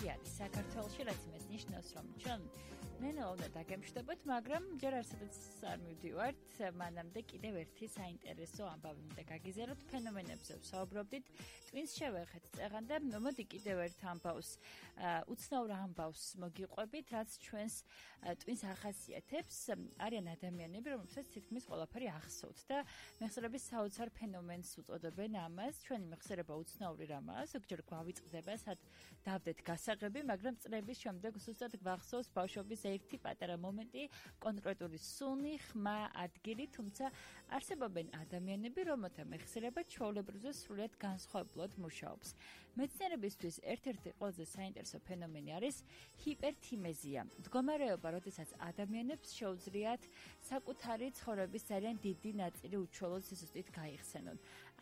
კრიზისი არის საქართველოში, რაც იმას ნიშნავს, რომ ჩვენ ნელა უნდა დაგემშვიდობოთ, მაგრამ ჯერ არცადაც არ მივდივართ, მანამდე კიდევ ერთი საინტერესო ამბავი უნდა გაგიზიაროთ, ფენომენებზე ვსაუბრობდით, ტვინს შევეხეთ წეღან და მოდი კიდევ ერთ ამბავს, უცნაურ ამბავს მოგიყვებით, რაც ჩვენს ტვინს ახასიათებს, არიან ადამიანები, რომლებსაც თითქმის ყველაფერი ახსოვთ და მეხსიერების საოცარ ფენომენს უწოდებენ ამას, ჩვენი მეხსიერება უცნაური რამაა, ზოგჯერ გვავიწყდება, სად დავდეთ გასაღები, მაგრამ წლების შემდეგ ზუსტად გვახსოვს ბავშვობის ერთი პატარა მომენტი, კონკრეტული სუნი, ხმა, ადგილი, თუმცა არსებობენ ადამიანები, რომელთა მეხსიერება ჩვეულებრივზე სრულიად განსხვავებულად მუშაობს. მეცნიერებისთვის ერთ-ერთი ყველაზე საინტერესო ფენომენი არის ჰიპერთიმეზია. მდგომარეობა, როდესაც ადამიანებს შეუძლიათ საკუთარი ცხოვრების ძალიან დიდი ნაწილი უჩვეულოდ სიზუსტით გაიხსენონ.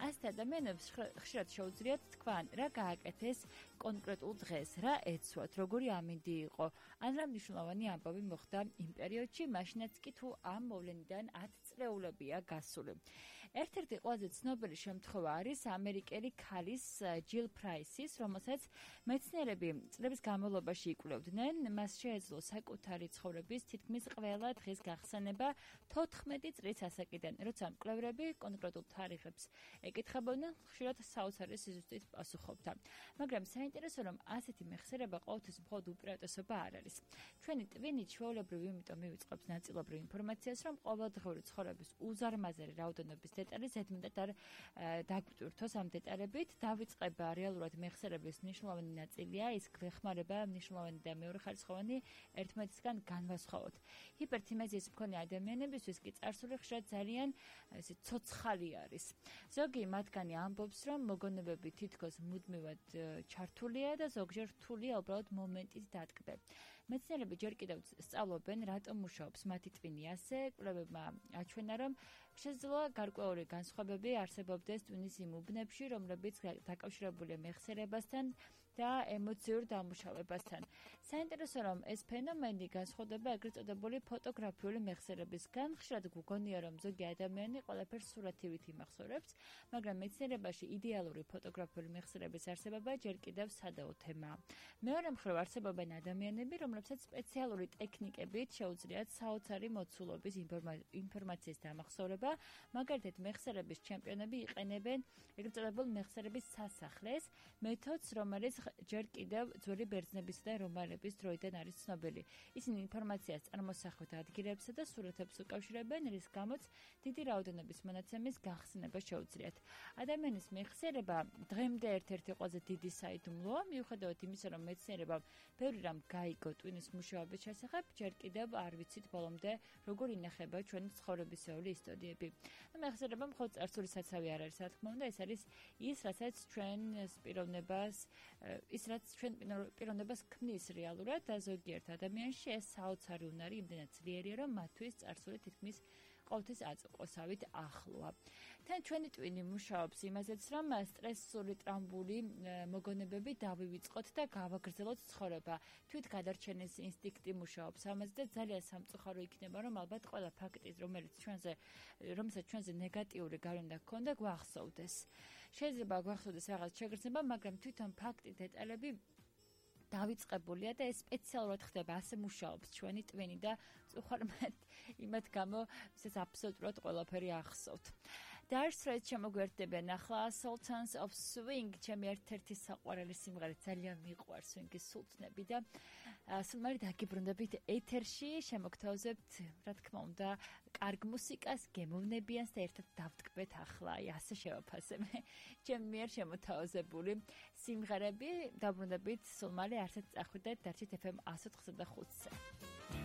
ასეთ ადამიანებს ხშირად შეუძლიათ თქვან, რა გააკეთეს კონკრეტულ დღეს, რა ეცვათ, როგორი ამინდი იყო, ან რა მნიშვნელოვანი ამბავი მოხდა იმ პერიოდში, მაშინაც კი თუ ამ მოვლენიდან 10 წლეულებია გასული. ერთ-ერთი ყველაზე ცნობილი შემთხვევა არის ამერიკელი ქალის ჯილ პრაისის, რომელსაც მეცნიერები წლების განმავლობაში იკვლევდნენ, მას შეეძლო საკუთარი ცხოვრების თითქმის ყველა დღის გახსენება 14 წლის ასაკიდან, როცა მკვლევრები კონკრეტულ თარიღებს ეკითხებოდნენ, ხშირად საოცარი სიზუსტით პასუხობდა. მაგრამ საინტერესო რომ ასეთი მეხსიერება ყოველთვის მხოლოდ უპირატესობა არ არის. ჩვენი ტვინი ჩვეულებრივ იმიტომ მივიწყებს ნაწილობრივ ინფორმაციას, რომ ყოველდღიური ცხოვრების უზარმაზარი რაოდენობის დეტალი ზედმეტად არ დაგვტვირთოს ამ დეტალებით, დავიწყება რეალურად მეხსიერების მნიშვნელოვანი ნაწილია, ის გვეხმარება მნიშვნელოვანი და მეორეხარისხოვანი ერთმანეთისგან განვასხვაოთ. ჰიპერთიმეზიის მქონე ადამიანებისთვის კი წარსული ხშირად ძალიან ესე ცოცხალი არის. ზოგი მათგანი ამბობს, რომ მოგონებები თითქოს მუდმივად ჩართულია და ზოგჯერ რთულია უბრალოდ მომენტით დატკბე. მეცნიერები ჯერ კიდევ სწავლობენ, რატომ მუშაობს მათი ტვინი ასე, კვლევებმა აჩვენა, რომ შესაძლოა გარკვეული განსხვავებები არსებობდეს ტვინის იმ უბნებში, რომლებიც დაკავშირებულია მეხსიერებასთან და ემოციურ დამუშავებასთან. საინტერესო რომ ეს ფენომენი განსხვავდება ეგრეთ წოდებული ფოტოგრაფიული მეხსიერებისგან, ხშირად გვგონია, რომ ზოგი ადამიანი ყველაფერს სურათივით იმახსოვრებს, მაგრამ მეცნიერებაში იდეალური ფოტოგრაფიული მეხსიერების არსებობა ჯერ კიდევ სადაო თემაა. მეორე მხრივ არსებობენ ადამიანები, რომლებსაც სპეციალური ტექნიკებით შეუძლიათ საოცარი მოცულობის ინფორმაციის დამახსოვრება, მაგალითად მეხსიერების ჩემპიონები იყენებენ ეგრეთ წოდებულ მეხსიერების სასახლეს, მეთოდს, რომელიც ჯერ კიდევ ძველი ბერძნებისა და რომაელების დროიდან არის ცნობილი. ისინი ინფორმაციას წარმოსახვით ადგილებსა და სურათებს უკავშირებენ, რის გამოც დიდი რაოდენობის მონაცემის გახსნება შეუძლიათ. ადამიანის მეხსიერება დღემდე ერთ-ერთი ყველაზე დიდი საიდუმლოა, მიუხედავად იმისა, რომ მეცნიერებამ ბევრი რამ გაიგო ტვინის მუშაობის შესახებ, ჯერ კიდევ არ ვიცით ბოლომდე როგორ ინახება ჩვენი ცხოვრებისეული ისტორიები. მეხსიერება მხოლოდ წარსული საცავი არ არის, რა თქმა უნდა, ეს არის ის, რასაც ჩვენს პიროვნებას ქმნის რეალურად და ზოგიერთ ადამიანში ეს საოცარი უნარი იმდენად ძლიერია, რომ მათთვის წარსული თითქმის ყოველთვის აწყვოსავით ახლოა. თან ჩვენი ტვინი მუშაობს იმაზეც, რომ სტრესული ტრამბული მოგონებები დავივიწყოთ და გავაგრძელოთ ცხოვრება. თვით გადარჩენის ინსტინქტი მუშაობს ამაზე და ძალიან სამწუხარო იქნება, რომ ალბათ ყველა ფაქტი, რომელსაც ჩვენზე ნეგატიური გავლენა ჰქონდა, გვახსოვდეს. შეიძლება გვახსოვდეს რაღაც შეგრძნება, მაგრამ თვითონ ფაქტი, დეტალები დავიწყებულია და ეს სპეციალურად ხდება, ასე მუშაობს ჩვენი ტვინი და წუხარმად იმათ გამო ეს აბსოლუტურად ყველაფერი ახსოვთ. დაარსრეთ შემოგვერდებიან ახლა Sultans of Swing, ჩემი ერთ-ერთი საყვარელი სიმღერა, ძალიან მიყვარს swing-ის სულთნები და სულ დაგიბრუნდებით ეთერში, შემოგთავაზებთ, რა თქმა უნდა, კარგ მუსიკას, გემოვნებიანს და ერთად დავტკბეთ ახლა, ასე შევაფასებ. ჩემი მიერ შემოთავაზებული სიმღერები, დაბრუნდებით სულ მალე, არცად წახვიდეთ, დარჩით FM 104.5-ზე.